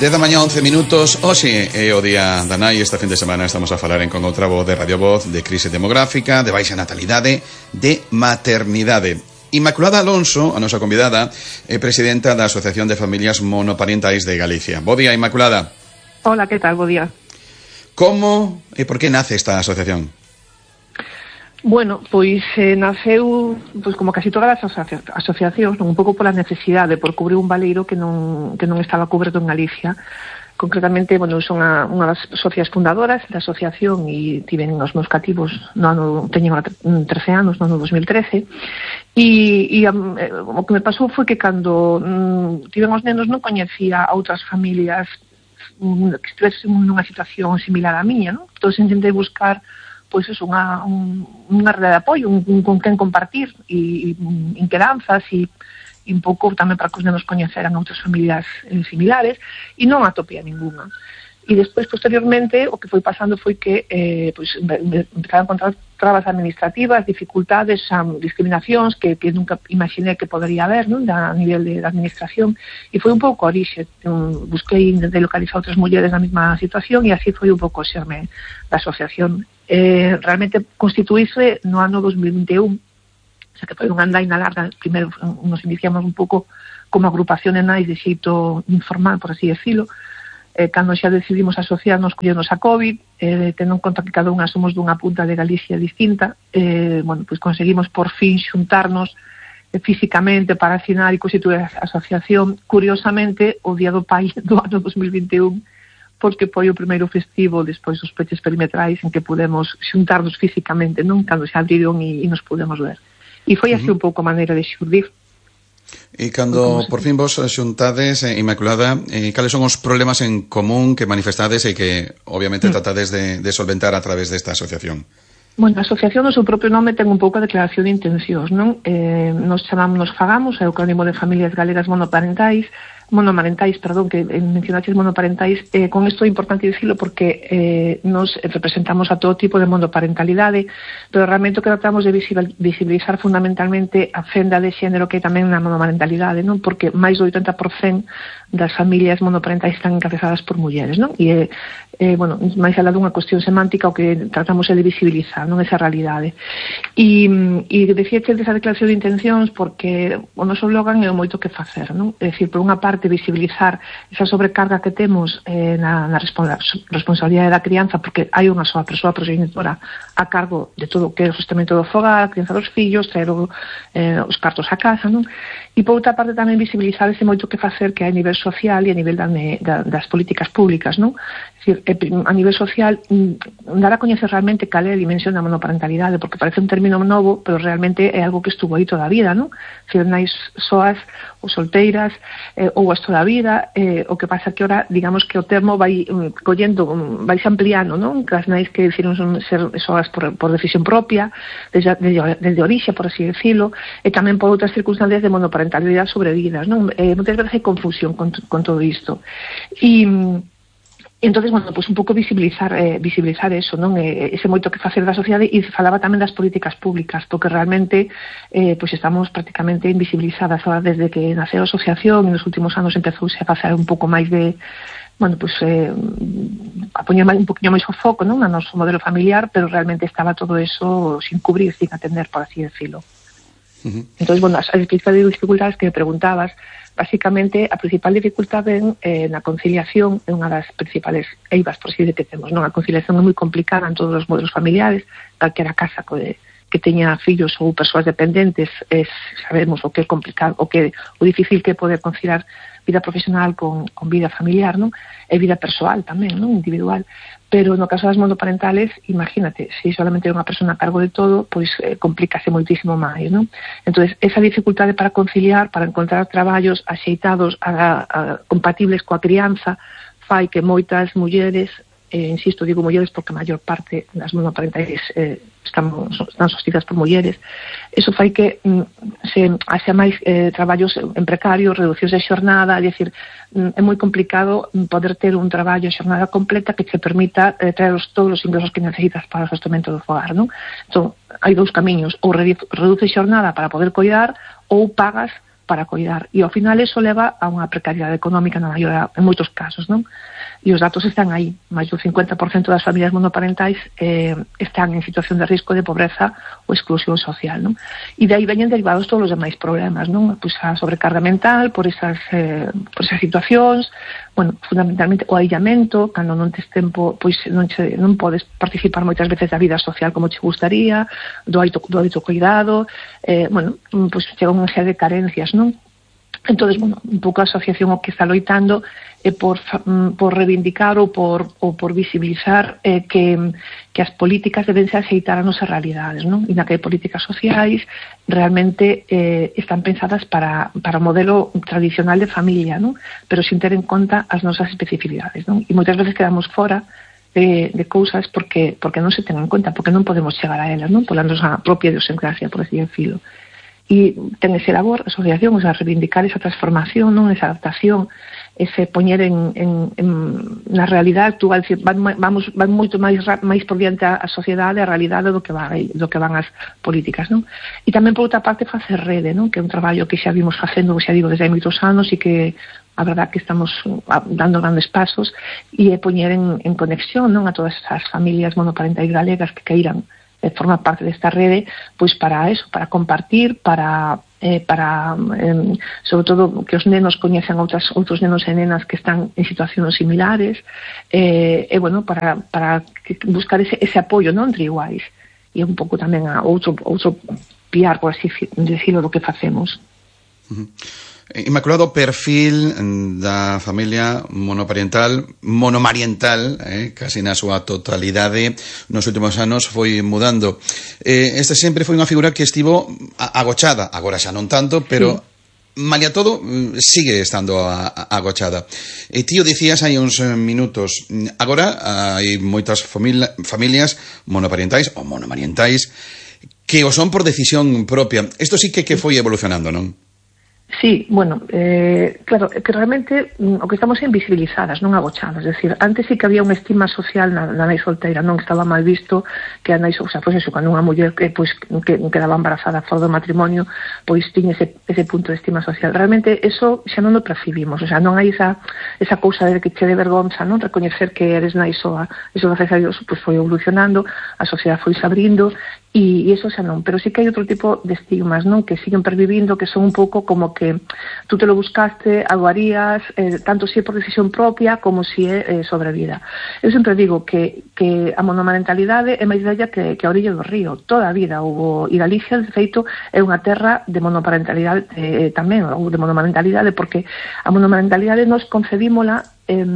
10 da mañá, 11 minutos. Hoxe é o día da nai. Esta fin de semana estamos a falar en Con Outra Voz de Radio Voz de crise demográfica, de baixa natalidade, de maternidade. Inmaculada Alonso, a nosa convidada, é presidenta da Asociación de Familias Monoparentais de Galicia. Bo día, Inmaculada. Hola, que tal? Bo día. Como e por que nace esta asociación? Bueno, pois naceu como casi todas as asociacións, un pouco pola necesidade por cubrir un valeiro que non estaba coberto en Galicia. Concretamente, bueno, son unha das socias fundadoras da asociación e tiven os meus cativos teñen 13 anos, no ano 2013, e o que me pasou foi que cando tiven os nenos non coñecía a outras familias que estivesen nunha situación similar á miña, non? Entón, intentei buscar pois é unha rede de apoio, con quen compartir e inquedanzas e un pouco tamén para que os nenos coñeceran outras familias similares, e non atopía ninguna. E despois, posteriormente, o que foi pasando foi que empezaron a encontrar trabas administrativas, dificultades, discriminacións que nunca imaginé que podería haber, non? A nivel de administración, e foi un pouco a orixe. Busquei de localizar outras mulleres na mesma situación e así foi un pouco o xerme da asociación. Realmente constituíse no ano 2021, o sea que foi unha andaina larga. Primeiro nos iniciamos un pouco como agrupación de nais de xeito informal, por así decirlo. Cando xa decidimos asociarnos, collernos a COVID, tendo en conta que cada unha somos dunha punta de Galicia distinta, pois conseguimos por fin xuntarnos físicamente para afinar e constituir a asociación, curiosamente, o Día do Pai do ano 2021, porque foi o primeiro festivo despois dos peches perimetrais en que pudemos xuntarnos físicamente, non? Cando se abriron e nos pudemos ver. E foi así un pouco a maneira de xurdir. E cando por fin vos xuntades, Inmaculada, cales son os problemas en común que manifestades e que obviamente tratades de solventar a través desta asociación? Bueno, a asociación no seu propio nome ten un pouco a declaración de intencións, non? Nos chamamos Fagamos, é o acrónimo de Familias Galegas monoparentais, que mencionaches monoparentais. Con isto é importante dicilo porque nos representamos a todo tipo de monoparentalidade, pero realmente o que tratamos de visibilizar fundamentalmente a fenda de xénero que é tamén na monoparentalidade, non? Porque máis do 80% das familias monoparentais están encabezadas por mulleres, non? E máis alá dunha cuestión semántica, o que tratamos é de visibilizar, non, esa realidade. E decíache desa declaración de intencións porque o noso slogan é o moito que facer, non? É dicir, por unha parte, visibilizar esa sobrecarga que temos na responsabilidade da crianza, porque hai unha soa persoa progenitora a cargo de todo o que é o sostentamento do fogar, a crianza dos fillos, traer os cartos a casa, non? E por outra parte tamén visibilizar ese moito que facer que hai a nivel social e a nivel das políticas públicas, non? É dicir, a nivel social, dar a coñecer realmente cal é a dimensión da monoparentalidade, porque parece un término novo, pero realmente é algo que estuvo aí toda a vida, non? Se nais soas ou solteiras ou as toda a vida, o que pasa que ora, digamos que o termo vai se ampliando, non? Que as nais que decidiron ser soas por decisión propia, desde orixe, por así decirlo, e tamén por outras circunstancias de monoparentalidade sobrevidas, non? Moitas veces hai confusión con todo isto. E entonces, pues un pouco visibilizar eso, non? Ese moito que facer da sociedade, e falaba tamén das políticas públicas, porque realmente pues estamos prácticamente invisibilizadas ahora desde que naceu a asociación, e nos últimos anos empezouse a facer un pouco máis de a poñer un poquinho máis o foco, non, no noso modelo familiar, pero realmente estaba todo eso sin cubrir, sin atender, por así decirlo. Entonces, as principales dificultades que me preguntabas, básicamente a principal dificultade na conciliación é unha das principales eivas, por así decir, que temos, non? A conciliación é moi complicada en todos os modelos familiares, calquera casa que teña fillos ou persoas dependentes, sabemos o que é complicado, o difícil que é poder conciliar vida profesional con vida familiar, non? E vida persoal tamén, non? Individual. Pero no caso das monoparentales, imagínate, se solamente é unha persona a cargo de todo, pois complícase moitísimo máis, non? Entón, esa dificultade para conciliar, para encontrar traballos axeitados, compatibles coa crianza, fai que moitas mulleres, insisto, digo mulleres porque a maior parte das monoparentais están sostidas por mulleres, eso fai que se haxa máis traballos en precario, reducións de xornada, é dicir, é moi complicado poder ter un traballo a xornada completa que te permita traer todos os ingresos que necesitas para o sostentamento do fogar, non? Entón, hai dous camiños, ou reduce xornada para poder coidar, ou pagas para coidar. E ao final eso leva a unha precariedade económica en moitos casos, non? E os datos están aí. Máis do 50% das familias monoparentais están en situación de risco de pobreza ou exclusión social, non? E de aí veñen derivados todos os demais problemas, non? Pois a sobrecarga mental por esas situacións, bueno, fundamentalmente o aillamento, cando non tes tempo, pois non podes participar moitas veces da vida social como che gustaría, do autocuidado, bueno, pois chega unha serie de carencias, non? Entonces, bueno, un pouco a asociación o que está loitando é por reivindicar ou por visibilizar que as políticas deben se aceitar a nosas realidades, non? E na que hai políticas sociais realmente están pensadas para o modelo tradicional de familia, non? Pero sin ter en conta as nosas especificidades, non? E moitas veces quedamos fora de cousas porque non se ten en conta, porque non podemos chegar a elas, non? Pola nosa propia idiosincrasia, por así decirlo. E ten ese labor, a asociación, o sea, reivindicar esa transformación, non, esa adaptación, ese poñer na realidade actual, van moito máis por diante a sociedade, a realidade do que van as políticas, non? E tamén, por outra parte, facer rede, non? Que é un traballo que xa vimos facendo, xa digo, desde hai moitos anos e que a verdad que estamos dando grandes pasos e poñer en conexión, non, a todas as familias monoparentais galegas que queiran formar parte desta rede, pois para eso, para compartir, para sobre todo que os nenos coñecen outros nenos e nenas que están en situacións similares, e bueno, para buscar ese apoio, non, entre iguais, e un pouco tamén a outro piar, por así decirlo, do que facemos. Inmaculado, perfil da familia monomariental, casi na súa totalidade, nos últimos anos foi mudando. Esta sempre foi unha figura que estivo agochada, agora xa non tanto, pero malia todo sigue estando agochada. E ti o dicías hai uns minutos, agora hai moitas familias monoparentais ou monomarientais que o son por decisión propia. Isto sí que foi evolucionando, non? Sí, bueno, claro, que realmente o que estamos é invisibilizadas, non agochadas. Es decir, antes sí que había unha estima social na nai solteira, non estaba mal visto que a nai, o sea, pois eso, cando unha muller que quedaba embarazada fora do matrimonio, pois tiña ese punto de estima social. Realmente eso xa non o percibimos, o sea, non hai esa cousa de que che de vergonza, non, recoñecer que eres nai soa. Eso, gracias a Dios, pois foi evolucionando, a sociedade foi se abrindo, e eso xa non, pero sí que hai outro tipo de estigmas, non, que siguen pervivindo, que son un pouco como que tú te lo buscaste, algo harías, tanto si é por decisión propia como si é sobre vida. Eu sempre digo que a monomarentalidade é máis vella que a orilla do río, toda a vida houve, e Galicia, de feito, é unha terra de monoparentalidade tamén, ou de monomarentalidade, porque a monomarentalidade nos concebímola, é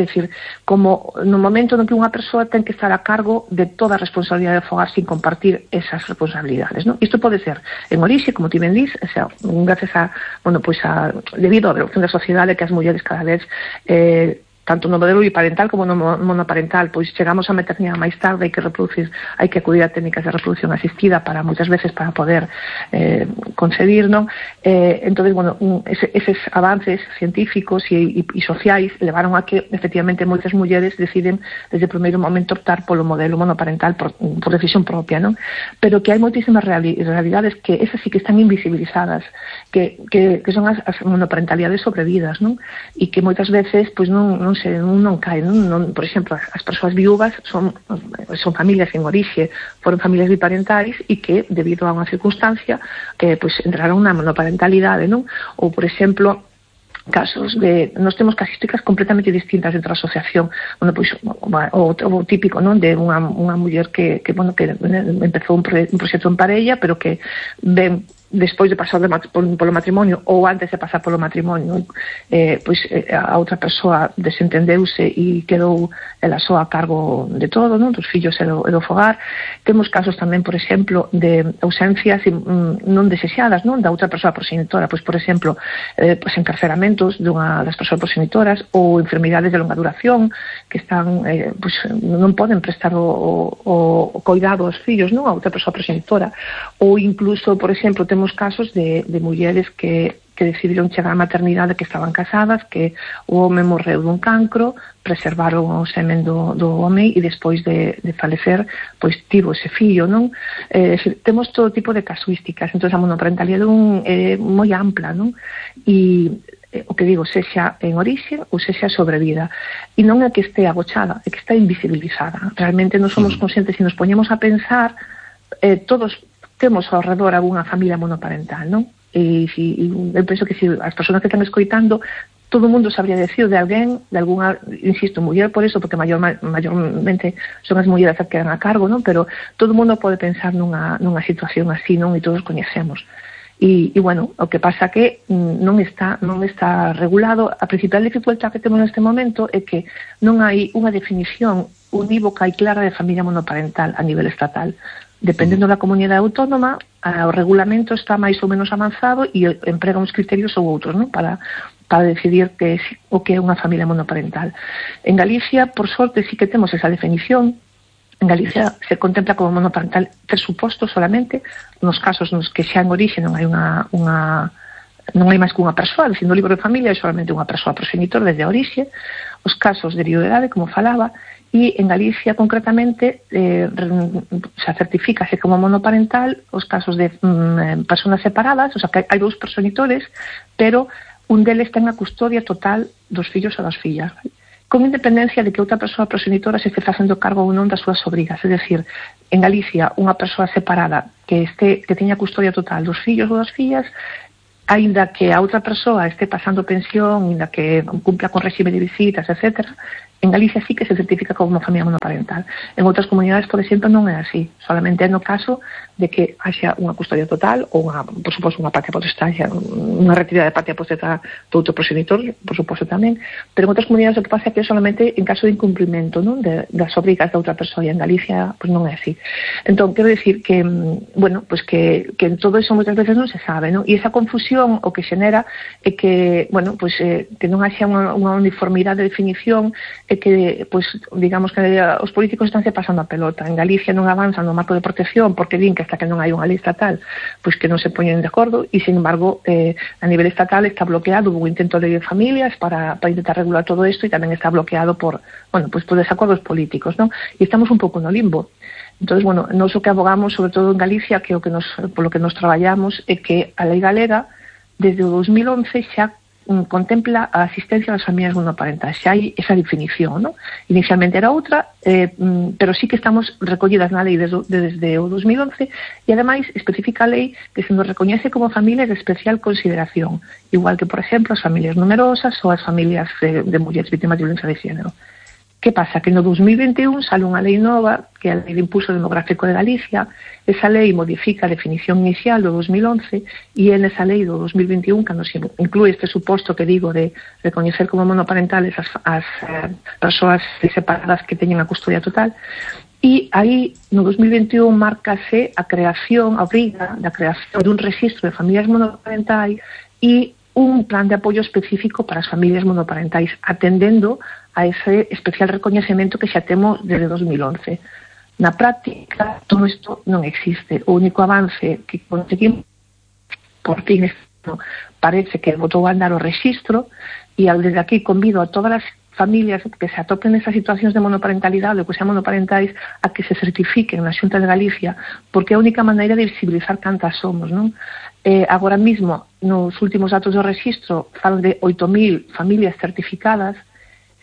dicir, como no momento no que unha persoa ten que estar a cargo de toda a responsabilidade do fogar sin compartir esas responsabilidades, non? Isto pode ser en orixe, como ti ben dís, o sea, gracias a, bueno, pois debido á evolución da sociedade, que as mulleres cada vez tanto no modelo biparental como no monoparental, pois chegamos a maternidade máis tarde, hai que acudir a técnicas de reproducción asistida para moitas veces para poder concebir, non? Entonces, bueno, eses avances científicos e sociais levaron a que, efectivamente, moitas mulleres deciden desde o primeiro momento optar polo modelo monoparental por decisión propia, non? Pero que hai moitísimas realidades que esas sí que están invisibilizadas, que son as monoparentalidades sobrevidas, non? E que moitas veces, pois non cae, non, por exemplo, as persoas viúvas son familias en orixe, foron familias biparentais e que, debido a unha circunstancia, pois entraron na monoparentalidade, non? Ou, por exemplo, casos de, nós temos casísticas completamente distintas entre a asociación, bueno, pois o típico, non, de unha muller que empezou un proxecto en parella, pero que ven despois de pasar polo matrimonio ou antes de pasar polo matrimonio, pois a outra persoa desentendeuse e quedou ela só a cargo de todo, non, dos fillos e do fogar. Temos casos tamén, por exemplo, de ausencias non desexadas, non, da outra persoa progenitora, pois, por exemplo, pois encarceramentos dunha das persoas progenitoras ou enfermidades de longa duración que están, pois non poden prestar o cuidado aos fillos, non, a outra persoa progenitora, ou incluso, por exemplo, temos casos de mulleres que que decidiron chegar á maternidade, que estaban casadas, que o home morreu dun cancro, preservaron o semen do home e despois de falecer, pois tivo ese fillo, non? Temos todo tipo de casuísticas, entón a monoparentalidade é moi ampla, non? E o que digo, sexa en orixe ou sexa sobre vida. E non é que este agochada, é que está invisibilizada. Realmente non somos conscientes, se nos poñemos a pensar, todos temos ao redor alguna familia monoparental, non? E eu penso que as persoas que están escoitando, todo o mundo sabría decir de alguén, de alguna, insisto, muller por eso, porque mayormente son as mulleres que quedan a cargo, non? Pero todo o mundo pode pensar nunha situación así, non? E todos coñecemos. E bueno, o que pasa que non está regulado. A principal dificultad que temos neste momento é que non hai unha definición unívoca e clara de familia monoparental a nivel estatal. Dependendo da comunidade autónoma, o regulamento está máis ou menos avanzado e emprega uns criterios ou outros, non? Para decidir o que é unha familia monoparental. En Galicia, por sorte, sí que temos esa definición. En Galicia se contempla como monoparental 3 supostos solamente, nos casos nos que xa en orixe non hai non hai máis que unha persoa, dicindo o libro de familia é solamente unha persoa progenitor desde a orixe, os casos de viudedade, como falaba, e en Galicia concretamente se certifícase como monoparental os casos de personas separadas, o sea que hai 2 progenitores, pero un deles ten a custodia total dos fillos ou das fillas, con independencia de que outra persoa progenitora se este facendo cargo ou non das súas sobrigas. É dicir, en Galicia, unha persoa separada que teña custodia total dos fillos ou das fillas, aínda que a outra persoa este pasando pensión, aínda que cumpla con réxime de visitas, etc., en Galicia sí que se certifica como familia monoparental. En outras comunidades, por exemplo, non é así. Solamente é no caso de que haxa unha custodia total ou, por suposto, unha patria potestad, unha retirada de patria potestad do outro progenitor, por suposto tamén. Pero en outras comunidades o que pasa é que é solamente en caso de incumprimento, non, das obrigas da outra persoa, e en Galicia pues non é así. Entón, quero dicir que, bueno, pues que todo eso moitas veces non se sabe, non? E esa confusión o que xenera é que, bueno, pues que non haxa unha uniformidade de definición, é que, pues, digamos que os políticos estánse pasando a pelota. En Galicia non avanzan no marco de protección porque din que hasta que non hai unha lei estatal, pues que non se poñen de acordo, e, sin embargo, a nivel estatal está bloqueado, hubo intento de lei de familias para intentar regular todo isto, e tamén está bloqueado por, bueno, pues por desacordos políticos, non? E estamos un pouco no limbo. Entonces, bueno, nós o que abogamos, sobre todo en Galicia, que polo que nos traballamos, é que a lei galega, desde o 2011, xa contempla a asistencia das familias monoparentais. Xa hai esa definición, ¿no? Inicialmente era outra, pero sí que estamos recollidas na lei desde o 2011, e ademais especifica a lei que se nos recoñece como familias de especial consideración, igual que, por exemplo, as familias numerosas ou as familias de mulleres vítimas de violencia de género. Que pasa? Que no 2021 sale unha lei nova, que é a Lei de Impulso Demográfico de Galicia. Esa lei modifica a definición inicial do 2011, e é nesa lei do 2021 que nos inclúe este suposto que digo de recoñecer como monoparentales as persoas separadas que teñen a custodia total. E aí, no 2021, márcase a obriga da creación dun registro de familias monoparentais e un plan de apoio específico para as familias monoparentais, atendendo a ese especial recoñecemento que xa temos desde 2011. Na práctica, todo isto non existe. O único avance que conseguimos, por fin, parece que botou a andar o registro, e desde aquí convido a todas as familias que se atopen nesas situacións de monoparentalidade ou que sean monoparentais a que se certifiquen na Xunta de Galicia, porque é a única maneira de visibilizar cantas somos, non? Agora mismo, nos últimos datos do registro, falan de 8.000 familias certificadas.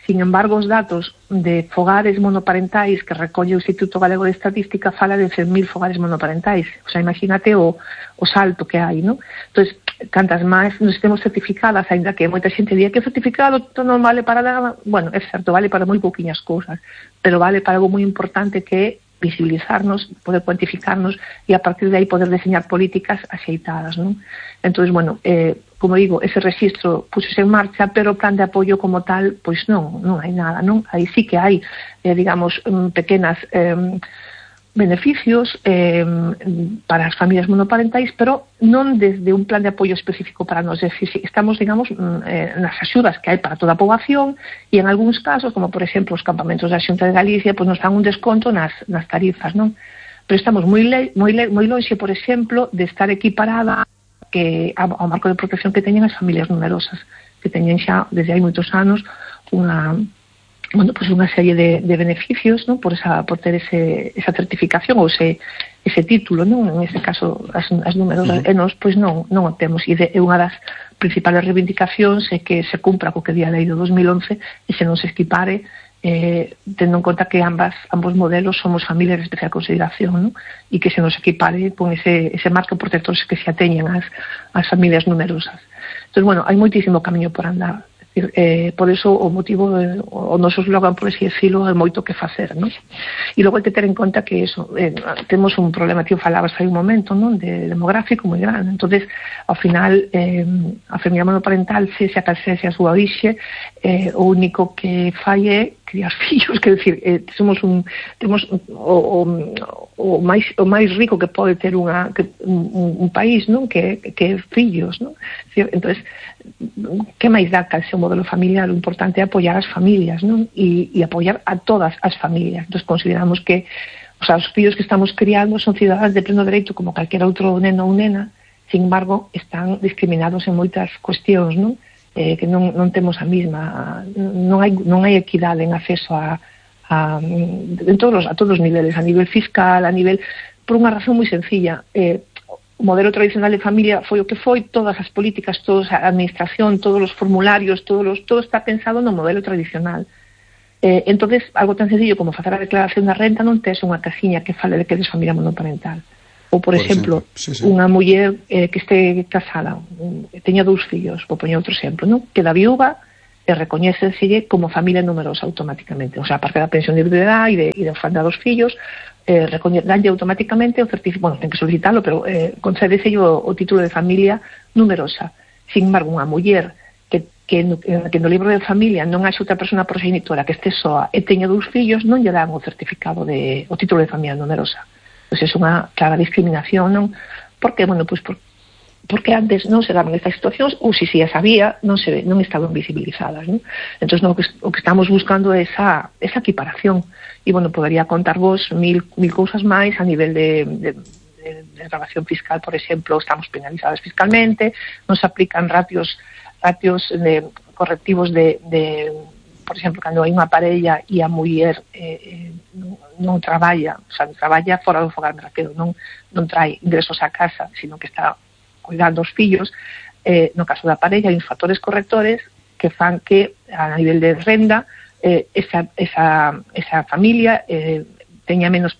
Sin embargo, os datos de fogares monoparentais que recolle o Instituto Galego de Estatística fala de 100.000 fogares monoparentais. O sea, imagínate o salto que hai, non? Entón, cantas máis nos temos certificadas, ainda que moita xente diga que o certificado non vale para nada. Bueno, é certo, vale para moi pouquiñas cousas, pero vale para algo moi importante, que é visibilizarnos, poder cuantificarnos, e a partir de aí poder diseñar políticas axeitadas, non? Entón, bueno, como digo, ese registro puxose en marcha, pero o plan de apoio como tal, pois non hai nada, non? Aí sí que hai, digamos, pequenas beneficios para as familias monoparentais, pero non desde un plan de apoio específico para nós. É dicir, estamos, digamos, nas axudas que hai para toda a poboación, e en algúns casos, como por exemplo os campamentos da Xunta de Galicia, pois nos dan un desconto nas tarifas, non? Pero estamos moi lonxe, por exemplo, de estar equiparada que ao marco de protección que teñen as familias numerosas, que teñen xa desde hai moitos anos unha serie de beneficios, ¿no? por ter esa certificación ou ese título, ¿no? En este caso as numerosas, e nós pois non o temos, e unha das principales reivindicacións é que se cumpra co que di a lei do 2011 e se non se equipare, tendo en conta que ambos modelos somos familias de especial consideración, ¿no? E que se nos equipare con ese marco protector que se ateñen as familias numerosas. Entón, bueno, hai moitísimo camiño por andar. Por eso o motivo o noso slogan, por así decirlo, é moito que facer, non? E logo hai que ter en conta que temos un problema, tío, falabas hai un momento, non, de demográfico moi grande. Entonces, ao final a familia monoparental, se a calcese a súa orixe, o único que fai é criar fillos, quer decir, temos o máis rico que pode ter un país, non, que é fillos, non? Entonces, que máis dá cal seu modelo familiar? O importante é apoiar as familias, non? E apoiar a todas as familias. Entón, consideramos que os fillos que estamos criando son cidadãos de pleno dereito como calquera outro neno ou nena, sin embargo, están discriminados en moitas cuestións, non? Que non temos a mesma, non hai equidade en acceso a todos os niveles, a nivel fiscal, por unha razón moi sencilla. O modelo tradicional de familia foi o que foi, todas as políticas, toda a administración, todos os formularios, todo está pensado no modelo tradicional. Entonces, algo tan sencillo como facer a declaración da renta non tes unha casiña que fale de que eres familia monoparental. Ou, por exemplo, unha muller que este casada, que teña 2 fillos, vou poñer outro exemplo, non? Queda viúva e recoñécenselle como familia numerosa automáticamente. O sea, aparte da pensión de viudedade e de orfandad dos fillos, danlle automáticamente o certificado, ten que solicitalo, pero concédeselle o título de familia numerosa. Sin embargo, unha muller que no libro de familia non haxe outra persona progenitora que este soa e teña 2 fillos, non lle dan o certificado o título de familia numerosa. Pois é unha clara discriminación, non? Porque, bueno, pois porque antes non se daban estas situacións, ou se as había, non estaban visibilizadas, non? Entón, o que estamos buscando é esa equiparación. E, bueno, podería contar vos mil cousas máis a nivel de grabación fiscal, por exemplo, estamos penalizadas fiscalmente, non se aplican ratios correctivos por exemplo, cando hai unha parella e a muller non traballa, o sea, traballa fora do fogar, me refiero, non trae ingresos a casa, sino que está cuidando os fillos, no caso da parella hai uns factores correctores que fan que a nivel de renda esa familia teña menos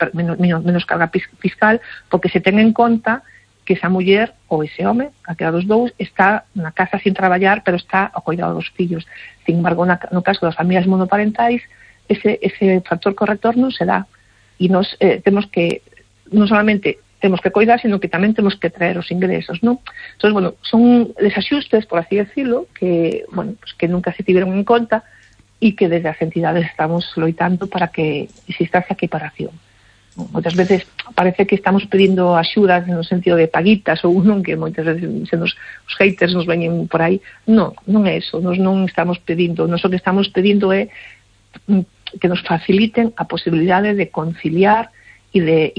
carga fiscal, porque se ten en conta que esa muller ou ese home, calquera dos dous, está na casa sin traballar, pero está ao cuidado dos fillos. Sin embargo, no caso das familias monoparentais, ese factor corrector non se dá. E nos temos que, non solamente temos que cuidar, sino que tamén temos que traer os ingresos, non? Entón, bueno, son desaxustes, por así decirlo, que, bueno, pues que nunca se tiveron en conta e que desde as entidades estamos loitando para que exista esa equiparación. Moitas veces parece que estamos pedindo axudas no sentido de paguitas ou non, que moitas veces os haters nos veñen por aí. Non é eso, nos non estamos pedindo, nos o que estamos pedindo é que nos faciliten a posibilidade de conciliar e de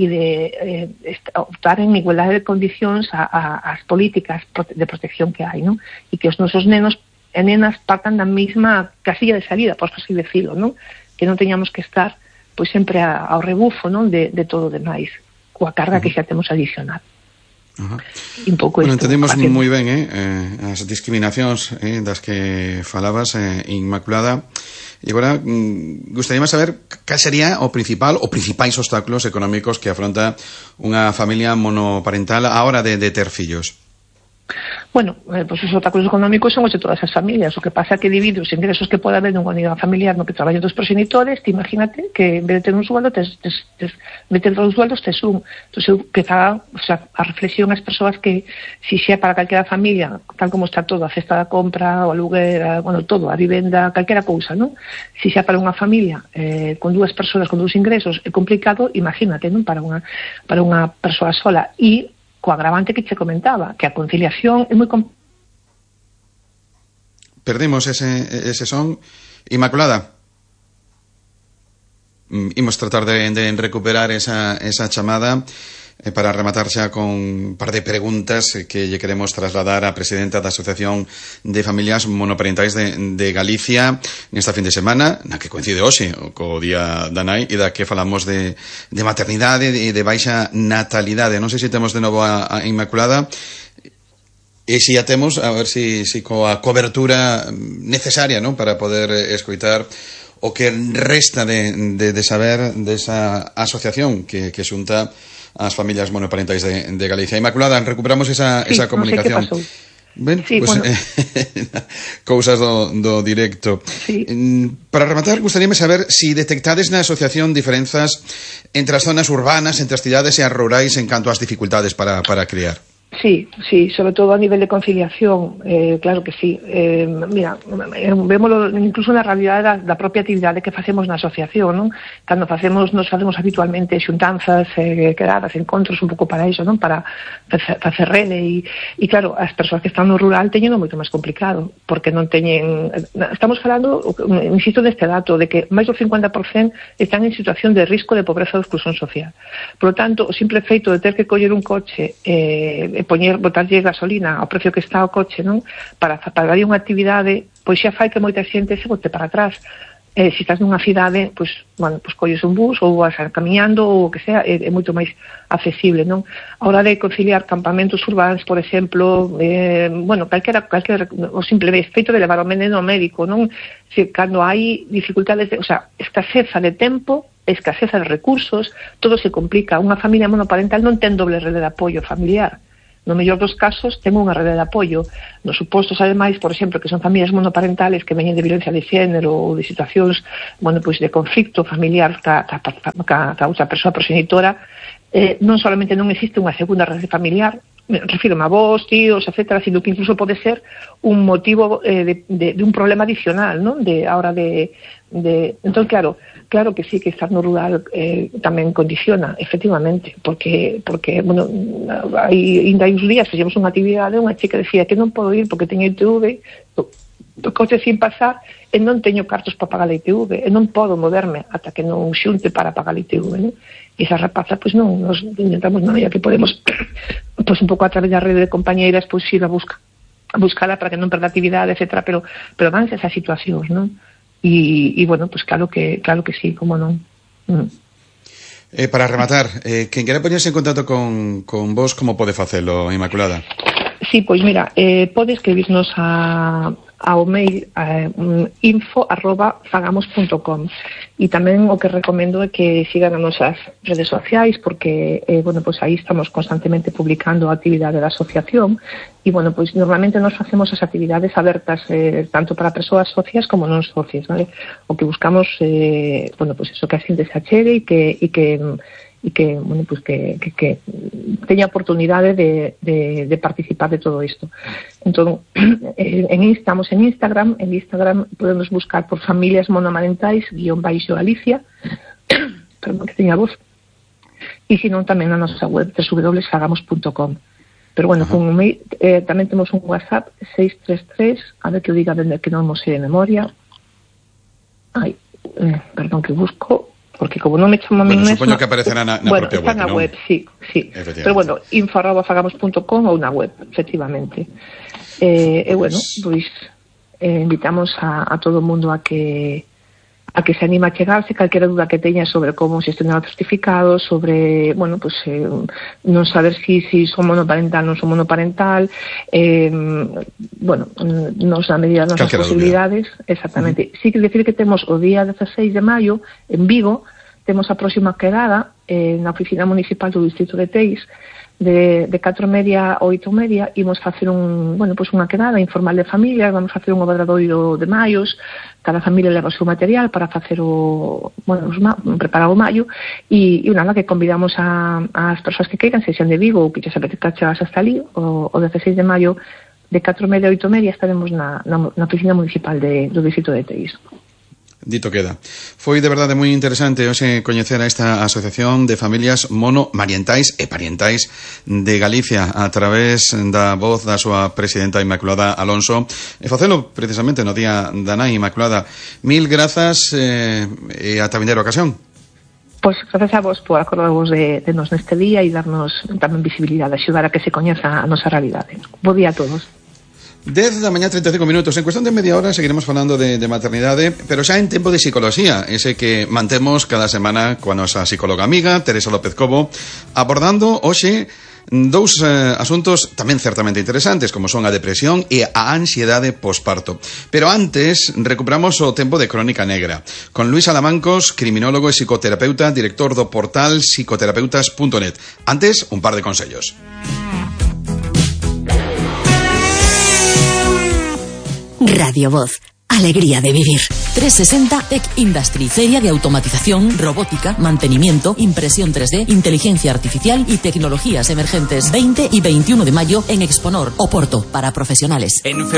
optar en igualdade de condicións ás políticas de protección que hai, non? E que os nosos nenos e nenas partan da mesma casilla de salida, por así decirlo, non? Que non teñamos que estar pois sempre ao rebufo, non, de todo o demais, coa carga que xa temos adicional. Un pouco bueno, entendemos moi ben as discriminacións das que falabas, Inmaculada. E agora gustaríame saber cal sería o principal ou principais obstáculos económicos que afronta unha familia monoparental a hora de ter fillos. Bueno, pues os obstáculos económicos son os de todas as familias. O que pasa é que divide os ingresos que pode haber nunha unidade familiar no que traballan dos progenitores. Te imagínate que en vez de ter un sueldo, tes dos sueldos, tes un. Entón, que faga, o sea, a reflexión ás persoas que si xa para calquera familia, tal como está todo, a cesta da compra, o aluguer, bueno, todo, a vivenda, calquera cousa, non? Si xa para unha familia con 2 persoas, con 2 ingresos, é complicado, imagínate, non? Para unha persoa sola. E co agravante que che comentaba, que a conciliación é moi Perdemos ese son. Inmaculada, imos tratar de recuperar esa chamada. Para rematar xa con un par de preguntas que lle queremos trasladar á presidenta da Asociación de Familias Monoparentais de Galicia nesta fin de semana, na que coincide hoxe co Día da Nai, e da que falamos de maternidade e de baixa natalidade. Non sei se temos de novo a Inmaculada, e se a temos, a ver se coa cobertura necesaria, non, para poder escoitar o que resta de saber desa asociación que xunta as familias monoparentais de Galicia. Inmaculada, recuperamos esa comunicación. Non sei que pasou. Ben, sí, pues, bueno. Cousas do directo. Sí. Para rematar, gustaríame saber si detectades na asociación diferenzas entre as zonas urbanas, entre as cidades e as rurais en canto ás dificultades para criar. Sí, sobre todo a nivel de conciliación, claro que sí. Mira, vémoslo incluso na realidade da propia actividade que facemos na asociación, non? Cando nos facemos habitualmente xuntanzas, quedadas, encontros un pouco para iso, non? Para facer rede e claro, as persoas que están no rural teñen moito máis complicado, porque non teñen... Estamos falando, insisto neste dato, de que máis do 50% están en situación de risco de pobreza ou exclusión social. Por lo tanto, o simple feito de ter que coller un coche botarlle gasolina ao precio que está o coche, non? Para darlle unha actividade, pois xa fai que moita xente se bote para atrás. Se estás nunha cidade, pois colles un bus ou vas camiñando ou o que sea, é moito máis accesible, non? A hora de conciliar campamentos urbanos, por exemplo, calquera o simple feito de levar o menino ao médico, non? Se cando hai dificultades, escaseza de tempo, escaseza de recursos, todo se complica. Unha familia monoparental non ten doble rede de apoio familiar. No mellor dos casos, ten unha rede de apoio. Nos supostos, ademais, por exemplo, que son familias monoparentales que veñen de violencia de xénero ou de situacións, de conflicto familiar ca outra persoa progenitora, non solamente non existe unha segunda rede familiar, refírome a vós, tíos, etcétera, sino que incluso pode ser un motivo de un problema adicional, non? A hora de... Entón, claro que sí, que estar no rural tamén condiciona, efectivamente, porque ainda hai uns días fixemos unha actividade, unha chica decía que non podo ir porque teño ITV, o coche sin pasar, e non teño cartos para pagar a ITV, e non podo moverme ata que non xunte para pagar a ITV, non? E esa rapaza, pois non, nos intentamos, non, ya que podemos, pois un pouco a través da rede de compañeiras, pois ir a buscala para que non perda actividade, etcétera, pero vanse esas situacións, non? E pois claro que sí, como non. Para rematar, quen quere poñerse en contacto con vos, como pode facelo, Inmaculada? Sí, pois mira, pode escribirnos ao mail info@fagamos.com, e tamén o que recomendo é que sigan as nosas redes sociais, porque pois aí estamos constantemente publicando a actividade da asociación, e pois normalmente nos facemos as actividades abertas tanto para persoas socias como non socias, vale? O que buscamos pois eso, que a xente se achegue e que teña oportunidade de participar de todo isto. Entón, estamos en Instagram podemos buscar por familias monomarentais _Galicia, perdón que teña voz, e senón tamén na nosa web www.fagamos.com. Pero con un mail, tamén temos un WhatsApp 633, a ver que o diga dende que non mo sei de memoria. Perdón que busco, porque como non me chamo a mí mesma... Supoño que aparecerá na propia web, está na web, sí. Pero info@fagamos.com ou na web, efectivamente. Pois invitamos a todo o mundo a que se anima a chegarse, calquera duda que teña sobre como xestionar o certificado, sobre, non saber si son monoparental, non son monoparental, nos a medida das nosas posibilidades, exactamente. Sí que decir que temos o día 16 de maio, en Vigo, temos a próxima quedada na oficina municipal do distrito de Teis, de 4:30 a 8:30, imos facer unha quedada informal de familias, vamos facer un obradoiro de maios, cada familia leva o seu material para facer preparar o maio, e nada, que convidamos as persoas que queiran, se xan de Vigo ou que xa apetezca chegarse hasta ali, o 16 de maio de 4:30 a 8:30 estaremos na oficina municipal do distrito de Teis. Dito queda. Foi de verdade moi interesante hoxe coñecer a esta Asociación de Familias Monomarentais e Parentais de Galicia a través da voz da súa presidenta Inmaculada Alonso, e facelo precisamente no Día da Nai. Inmaculada, mil grazas e ata vindeira ocasión. Pois gracias a vos por acordarvos de nos neste día e darnos tamén visibilidade, axudar a que se coñeza a nosa realidade. Bo día a todos. 10 da mañá, 35 minutos. En cuestión de media hora seguiremos falando de maternidade, pero xa en tempo de psicoloxía, ese que mantemos cada semana coa nosa psicóloga amiga Teresa López Cobo, abordando hoxe dous asuntos tamén certamente interesantes, como son a depresión e a ansiedade posparto. Pero antes, recuperamos o tempo de Crónica Negra, con Luis Alamancos, criminólogo e psicoterapeuta, director do portal psicoterapeutas.net. Antes, un par de consellos. Radio Voz. Alegría de vivir. 360 Tech Industry, feria de automatización, robótica, mantenimiento, impresión 3D, inteligencia artificial y tecnologías emergentes. 20 y 21 de mayo en Exponor, Oporto, para profesionales.